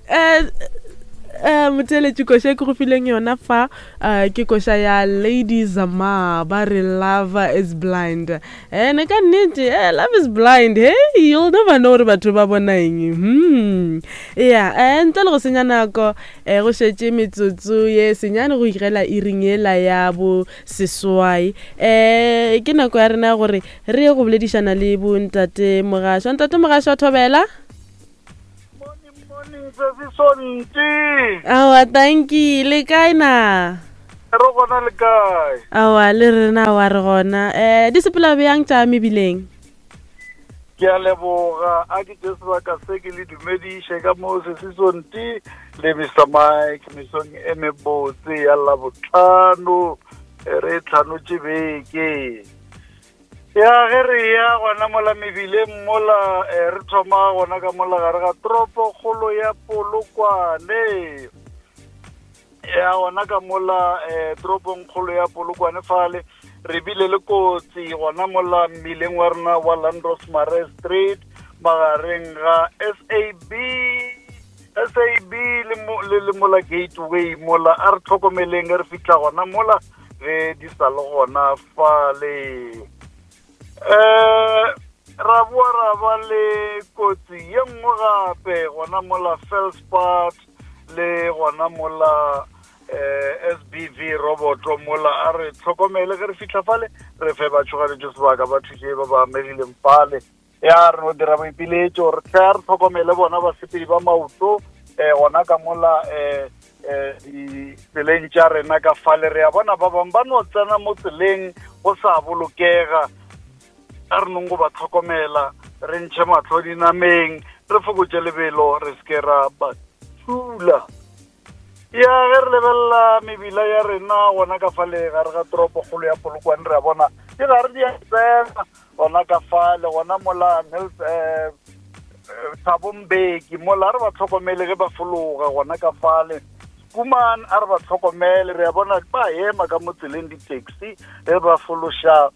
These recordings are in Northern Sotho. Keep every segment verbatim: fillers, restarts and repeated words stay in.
Eh eh motheeletši, koša e ke go fileng yona fa eh, ke koša ya Lady Zamar, ba re "Love Is Blind". Ene ka nnete, eh, love is blind. Hey, you'll never know gore batho ba bona eng. hmm ya eh, ntle le go senya nako, eh, go šetše metsotso ye senyane go igela iring yela ya bo seswai. um ke nako ya rena ya gore re ye go boledišana le bontate Mogašwa. Ntate Mogašwa, thobela. Morning, morning, sesi Sonti. Aowa, tanki. Le kae na? Re gona, le kae? Aowa, le rena wa re gona. um di sepela bjang tša mebileng? Ke a leboga. A ke tše sebaka se ke le dumediše ka mo, sesi Sonti le Mister Mike, mesong e mebotse ya Labotlhano. E re tlhanotše beke ya ge re ya gona mola mebileng mola. eh, re thoma gona ka mola gare ga toropo kgolo ya Polokwane. Ya gona ka mola eh, toropong kgolo ya Polokwane fale re bile le kotsi gona mola mmileng wa rena wa Landros Mare Street, magareng ga S A B S A B le, mo, le, le mola Gateway mola. A re tlhokomeleng ge re fitlha gona mola ge di sa le gona fale. eh ra boa ra ba le kotsi ye nngwe gape gona mola Felspart le gona mola eh S B V roboto mola. A re tlhokomele ge re fitlha fale, re fe batšhoganetšo sebaka ba thuše ba ba amegileng fale. Ya re no dira boipiletšo re tle re tlhokomele bona basepedi ba maoto um gona ka mola um um ditseleng tša rena ka fale. Re a bona ba bangwe ba no tsena mo tseleng go sa bolokega. A re nong go ba tlhokomela, re ntšhe mahlo dinameng, re fokotše lebelo, re seke ra ba thula. Ya ge re lebelela mebila ya rena gona ka fale gare ga toropokgolo ya Polokwane, re a bona di gare di a tsena gona ka fale gona mola Nels um Thabo Mbeki mola. A re ba tlhokomele ge ba fologa gona ka fale Kuman. A re ba tlhokomele, re a bona ba ema ka mo tseleng di-taxi ge ba fološa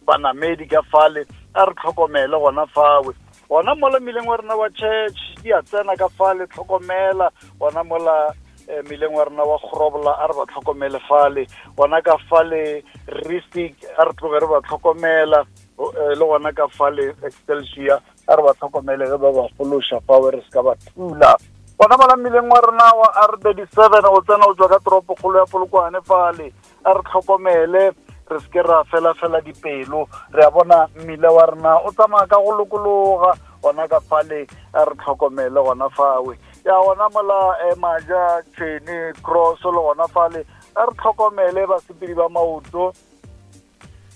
banamedi ka fale. A re tlhokomele gona fawe. Gona mola mmileng wa rena wa Church di a tsena ka fale, tlhokomela. Gona mola eh, mmileng wa rena wa Grobola, a re ba tlhokomele fale. Gona ka fale Risik, a re tloge re ba tlhokomela. o- eh, le gona ka fale Excelsior, a re ba tlhokomele ge ba ba fološa fawe, re se ka ba thula. Gona mola mmileng wa rena wa R thirty-seven go tsena o tswa ka toropokgolo ya Polokwane fale, a re tlhokomele, re se ke ra fela-fela dipelo. Re a bona mmila wa rena o tsamaya ka go lokologa gona ka fale. A re tlhokomele gona fawe. Ya gona mola eh, Maja Tšhwene Cross le gona fale, a re tlhokomele basepedi ba maoto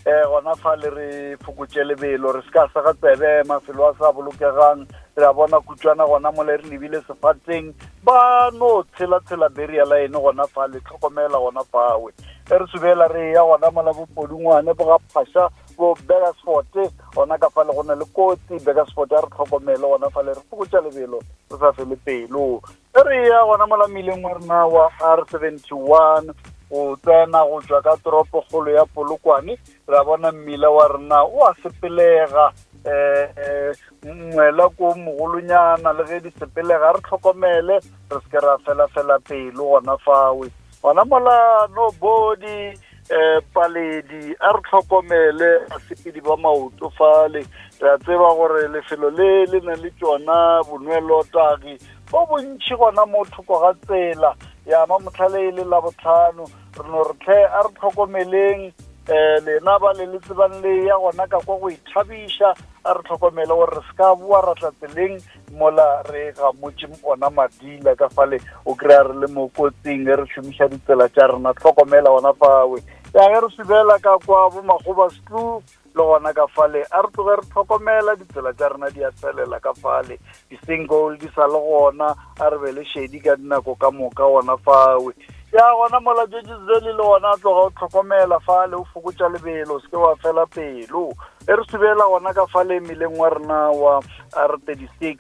eh gona fale, re fokotše lebelo, re se ka sega tsebe mafelo a sa bolokegang. Re a bona kutswana gona mola re lebile Sefateng, ba no tshela-tshela barrier line gona fale, tlhokomela gona fawe. E re subela re ya gona mola Bopodungwane, bo ga Phasha, bo Burgersfort, gona ka fale go na le kotsi Burgersfort. A re tlhokomele gona fale, re fokotša lebelo, re sa fele pelo. E re ya gona mola mmileng wa rena wa R seventy-one go tsena go tswa ka toropokgolo ya Polokwane, re a bona mmila wa rena o a sepelega. eh ngwela ko mogolonyana le ge di sepelega, re tlhokomele, re se ke ra fela-fela pelo gona fawe. Gona mola Nobody eh Paledi, a re tlhokomele basepedi ba maoto fale. Re a tseba gore lefelo le le na le tšona bonwelotagi bo bontšhi gona mo thoko ga tsela ya ma motlhale e le la botlhano. Re no re tlhe a re tlhokomeleng um lena ba le le tsebang le ya gona ka kwa go ithabiša. A re tlhokomele gore re se ka boa ra tla tseleng mola re gamotše ona madila ka fale, o kry-a re le mo kotsing ge re šomiša ditsela tša rena. Tlhokomela gona fawe. Ya ge re subela ka kwa bo Makgoba Stlu le gona ka fale, a re tloge re tlhokomela, ditsela tša rena di a tswelela ka fale, di-single di sa le gona. A re be le šedi ka dinako ka moka gona fawe. Ya gona mola Jejizeli le gona, a tloga o tlhokomela fale, o fokotša lebelo, o se ke wa fela pelo. E re subela gona ka fale mmileng wa rena wa R thirty-six,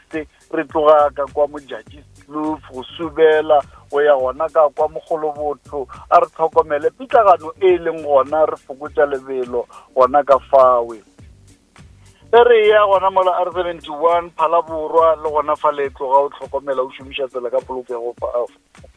re tloga ka kwa Modjadji Kloof go subela go ya gona ka kwa Mogolobotho, a re tlhokomele pitlagano e leng gona, re fokotša lebelo gona ka fawe. E re ya gona mola R seventy one Phalaborwa le gona fa le tloga o tlhokomela o šomiša tsela ka polokego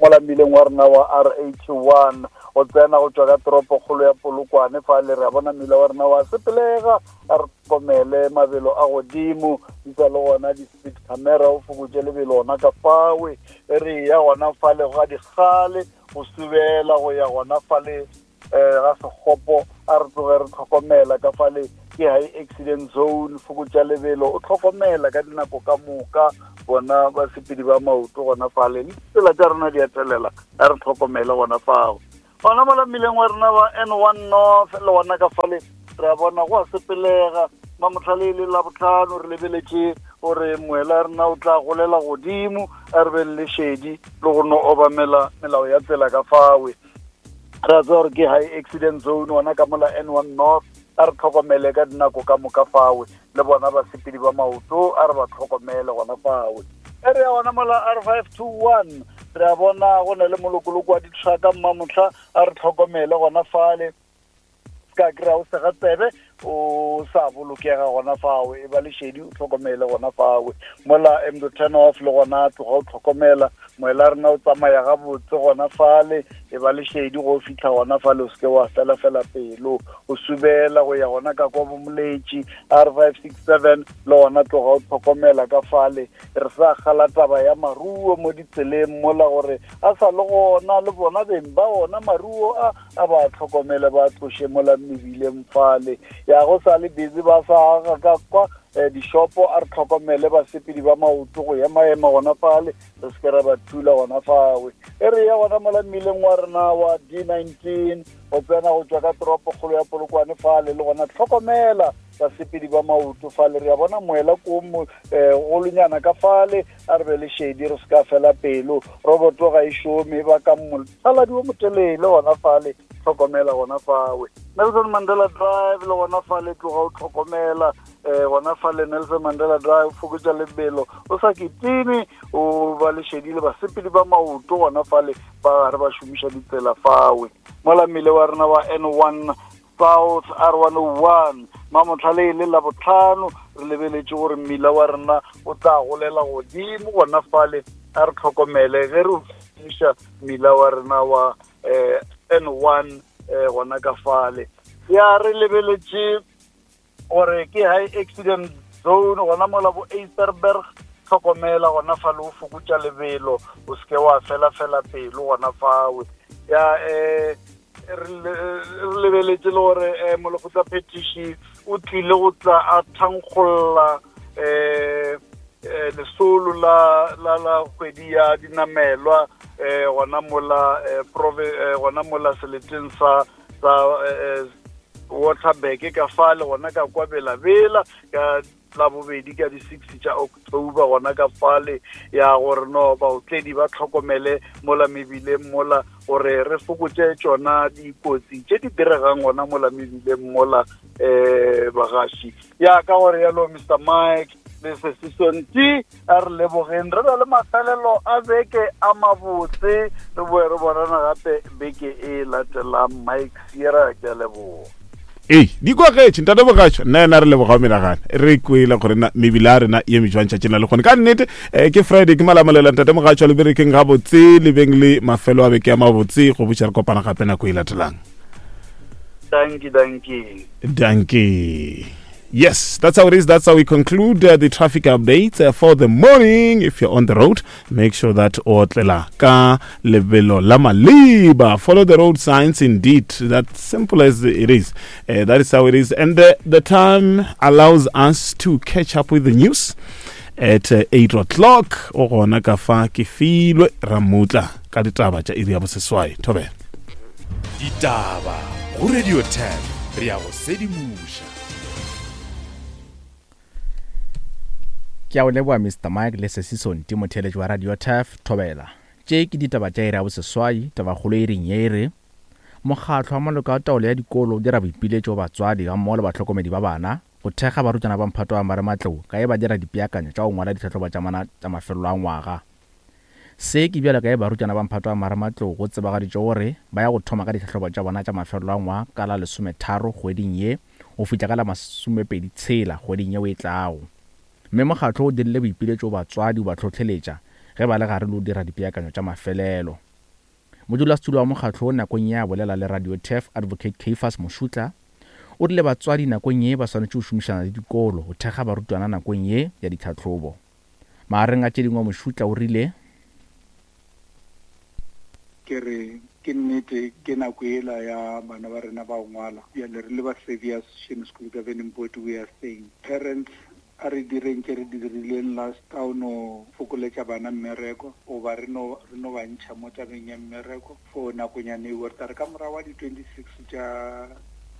mola mmileng wa rena wa R eighty one o tsena go tšwa ka toropokgolo ya Polokwane fa le re a bona mmila wa rena wa sepelega a re tlhokomele mabelo a godimo di sa le gona di-speed camera o fokotše lebelo gona ka fawe. E re ya gona fa le ga dikgale go subela go ya gona fa le eh ga sekgopo a re tloge re tlhokomela ka fale ke high accident zone fokotša lebelo o tlhokomela ka dinako ka moka bona basepedi ba maoto gona fale le ditsela tša rena di a telela a re tlhokomele gona fao. Gona mola mmileng wa rena wa N one North le gona ka fale re a bona go a sepelega mamotlhale le labotlhano re lebeletše gore moela rena o tla golela godimo a re be le lešedi le go no obamela melao ya tsela ka fawe. Re a tseba gore ke high accident zone gona ka mola N one North a re tlhokomele ka dinako ka moka fawe le bona basepedi ba maoto a re ba tlhokomele gona fawe. E re ya gona mola R five two one re a bona go na le molokoloko wa ditrucka mmamotlha a re tlhokomele gona fale ka kry-a o sega tsebe o sa bolokega gona fawe e ba lešedi o tlhokomele gona fawe. Mola M turn off le gona tloga o tlhokomela moela rena o tsamaya gabotse gona fale e ba lešedi go fitlha gona fale o seke wa fela fela pelo o subela go ya gona ka kwa bomoletši R five six seven le gona tloga o tlhokomela ka fale. Re sa kgala taba ya maruo mo ditseleng mola gore a sa le gona le bona beng ba ona maruo a a ba tlhokomele ba tloše mola mebileng fale ya go sa le busy ba sa aga ka kwa dishopo a re tlhokomele basepedi ba maoto go ema-ema gona fale re se ke ra ba thula gona fawe. E re ya gona mola mmileng wa rena wa D nineteen go tsena go tšwa ka toropokgolo ya Polokwane fale le gona tlhokomela basepedi ba maoto fale re a bona moela ko golonyana ka fale a re be le shedi re se ka fela pelo roboto ga e šome ba ka mothaladi o motelele gona fale tlhokomela gona fawe. Nelson Mandela Drive le gona fale tloga o tlhokomela eh gona fale Nelson Mandela Drive fokotša lebelo o sa kitime o ba lešedi le basepedi ba maoto gona fale ba gare ba šomiša ditsela fawe. Mola mmile wa rena wa N one South R one oh one mamotlhale le labotlhano re lebeletše gore mmila wa rena o tla golela godimo gona fale a re tlhokomele ge re šomiša mmila wa rena wa eh N one eh gona ka fale. Ya re lebeletše gore ke high accident zone gona mola bo Eisterberg tlhokomela gona fale o fokotša lebelo o seke wa fela fela pelo gona fawe. Ya eh re lebeletše le gore molekgotla phetiši o tlile go tla a thankgolla eh lesolo la la la kgwedi ya dinamelwa eh gona mola gona mola seleteng sa sa Waterberg ka fale gona ka kwa Bela-Bela ka la bobedi ka di-six tša October gona ka fale ya gore no baotledi ba tlhokomele mola mebileng mola gore re fokotše tšona dikotsi tše di diregang gona mola mebileng mola eh bagaši. Ya ka gore yalo Mister Mike le Sesisonti a re lebogeng re be le mafelelo a beke a mabotse re boe re bonana gape beke e latelang. Mike Sierra ke a leboga. Ee di kwagetše ntate Mogatšo nna ena re leboga menagana re kwele gore na mebile a rena ye mejwang tšatšing la le kgone ka nnete. Ke Friday ke malamolela ntate Mogatšo le berekeng gabotse le beng le mafelo a beke a mabotse go botša re kopana gape nako e latelang. Dankie, dankie. Dankie. Yes, that's how it is. That's how we conclude uh, the traffic updates uh, for the morning. If you're on the road, make sure that o otlela ka lebelo la maleba. Follow the road signs indeed. That's simple as it is. Uh, that is how it is. And the, the time allows us to catch up with the news at uh, eight o'clock. O gona ka fa ke filwe ramutla ka ditaba tša iri ya boseswai. Thobela. Ditaba go Radio ten re ya go sedimoša. Ke a o leboga Mister Mike le Sesisonti motheeletši wa Radio Turf Thobela. Tše ke ditaba tša iri ya boseswai, tabakgolo e reng ye e re mokgatlo wa maloko a taolo ya dikolo o dira boipiletšo go batswadi gammogo le bahlokomedi ba bana go thekga barutwana ba mphato wa marematlou ka e ba dira dipeakanyo tša go ngwala ditlhahlobo tša mana tša mafelelo a ngwaga. Se ke bjalo ka e barutwana ba mphato wa marematlou go tsebagaditše gore ba ya go thoma ka ditlhahlobo tša bona tša mafelelo a ngwaga ka la lesometharo kgweding ye go fihla ka la masomepedi tshela kgweding yeo e tlago. Mme mokgatlo o dirile boipiletšo batswadi ba hlohleletša ge ba le gare le go dira dipeakanyo tša mafelelo. Modulasetulo wa mokgatlo nakong ya bolela le Radio Turf Advocate Caiphus Moshutla o rile batswadi nakong ye ba swanetše go šomišana le dikolo go thekga barutwana nakong ye ya ditlhahlobo. Magareng a tše dingwe Moshutla o rile ke re ke nnete ke nako ela ya bana ba rena ba ngwala bjale re le ba Xavier Association School Governing Board we are saying parents a re direng tše re di dirileng last ka o no fokoletša bana mmereko goba re no re no ba ntšha mo tabeng ya mmereko for nakonyana eo re tla re ka morago wa di-twenty-six tša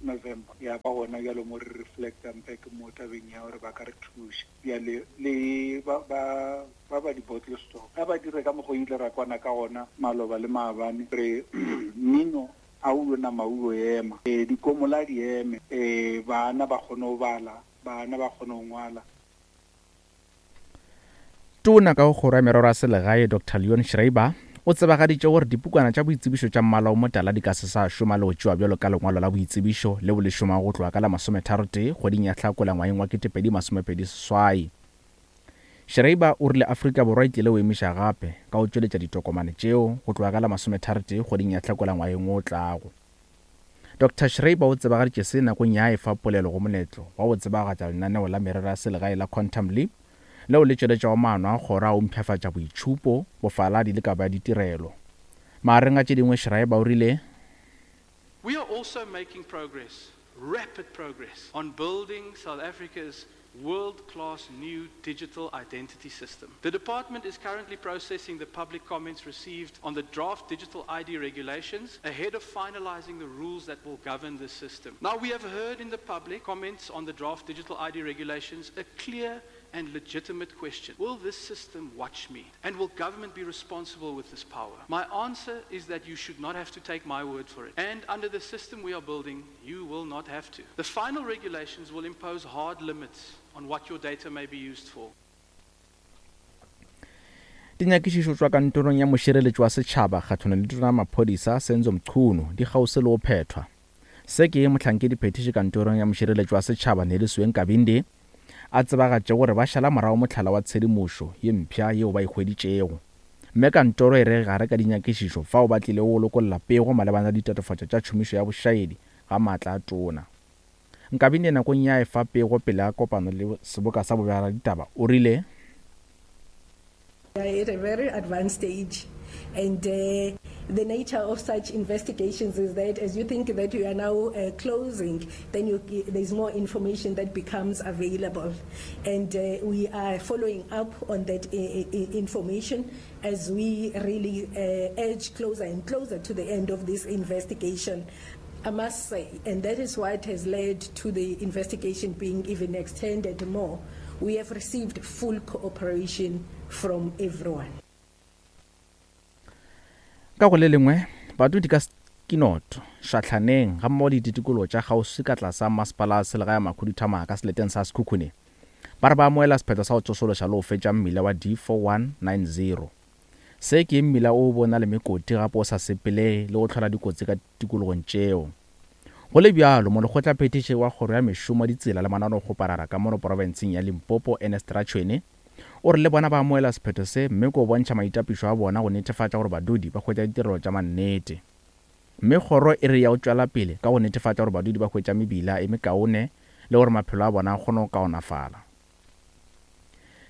November ya ba gona bjalo mo re reflectang back mo tabeng ya gore ba ka re thuša bjale le ba ba ba ba di-bottle store ga ba dire ka mokgwa ile ra kwana ka gona maloba le maabane re mmino a o nama o ema e dikomola di eme e bana ba kgone go bala bana ba kgone go ngwala. Tona ka go kgoro ya merero ya selegae Doctor Leon Schreiber o tsebagaditše gore dipukwana tša boitsebišo tša mmala o motala di ka se sa šoma le go tšewa bjalo ka lengwalo la boitsebišo leo le šomago go tloga ka la masometharotee kgweding ya Hlakola ngwageng wa ketepedi masomepedi seswai. Schreiber o rile Afrika Borwa e tlile go emiša gape ka go tšweletša ditokomane tšeo go tloga ka la masometharotee kgweding ya Hlakola ngwageng o tlago. Doctor Schreiber o tsebagaditše se nakong ya efa polelo go moletlo wa go tsebagatša lenaneo la merero ya selegae la Quantum Leap leo le tšweletšago maano a kgoro a go mpshafatša boitšhupo, bofaladi le kabo ya ditirelo. Magareng a tše dingwe Schreiber o rile We are also making progress, rapid progress, on building South Africa's world-class new digital identity system. The department is currently processing the public comments received on the draft digital I D regulations ahead of finalizing the rules that will govern this system. Now, we have heard in the public comments on the draft digital I D regulations a clear and legitimate question. Will this system watch me? And will government be responsible with this power? My answer is that you should not have to take my word for it. And under the system we are building, you will not have to. The final regulations will impose hard limits on what your data may be used for. Dinyakišišo tšwa kantorong ya mošireletši wa setšhaba kgahlano le tona maphodisa Senzo Mchunu di kgauswi le go phethwa. Se ke mohlankedi phetiši kantorong ya mošireletši wa setšhaba Nelisiwe Nkabinde a tsebagatše gore ba šala morago mohlala wa tshedimošo ye mpsha yeo ba e hweditšego. Mme kantoro e re gare ka dinyakišišo fao ba tlile go lokolla pego malebana le ditatofatšo tša tšhomišo ya bošaedi ga maatla a tona. Nkabinde nakong ya efa pego pele a kopano le seboka sa bobegaditaba o rile at a very advanced stage, and uh, the nature of such investigations is that as you think that you are now uh, closing, then you, there's more information that becomes available, and uh, we are following up on that uh, information as we really uh, edge closer and closer to the end of this investigation. I must say, and that is what has led to the investigation being even extended more, we have received full cooperation from everyone. Ka go le lengwe badudi ka Kinoto Šahlaneng ga mmogo le ditikologo tša kgauswi ka tlasa masepala wa selegae Makhuduthamaga ka seleteng sa Sekhukhune ba re ba amoela sephetho sa go tsošološa le go fetša mmila wa D four one nine zero. Se ke mmila o bona le mekoti gape o sa sepelege le go hlola dikotsi ka tikologong tšeo. Go le bjalo molekgotlaphethiši wa kgoro ya mešomo ditsela le mananeokgoparara ka mono profenseng ya Limpopo Ernest Ratshwene o re le bona ba amoela sephetho se mme ko bontšha maitapišo a bona go netefatša gore badudi ba hwetša ditirelo tša mannete. Mme kgoro e re ya go tšwela pele ka go netefatša gore badudi ba hwetša mebila e mekaone le gore maphelo a bona a kgone go kaonafala.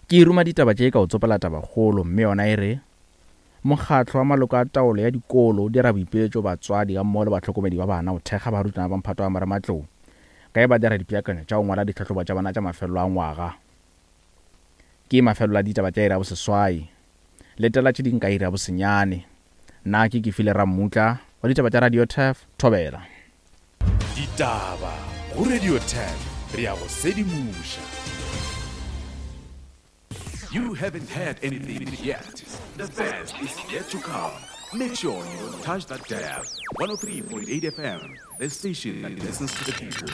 Ke ruma ditaba tše ka go tsopela tabakgolo mme yona e re mokgatlo wa maloko a taolo ya dikolo o dira boipiletšo batswadi ga mmogo le bahlokomedi ba bana go thekga barutwana ba mphato wa marematlou ka e ba dira dipeakanyo tša go ngwala ditlhahlobo tša bana tša mafelelo a ngwaga. Ke mafelelo a ditaba tša iri ya boseswai. Letela tše ding ka iri ya bosenyane. Nna ke Kefile Rammutla wa ditaba tša Radio Turf Thobela. Ditaba go Radio Turf re ya go sedimoša. You haven't heard anything yet. The best is yet to come. Make sure you don't touch that dial. one oh three point eight F M, the station that listens to the people.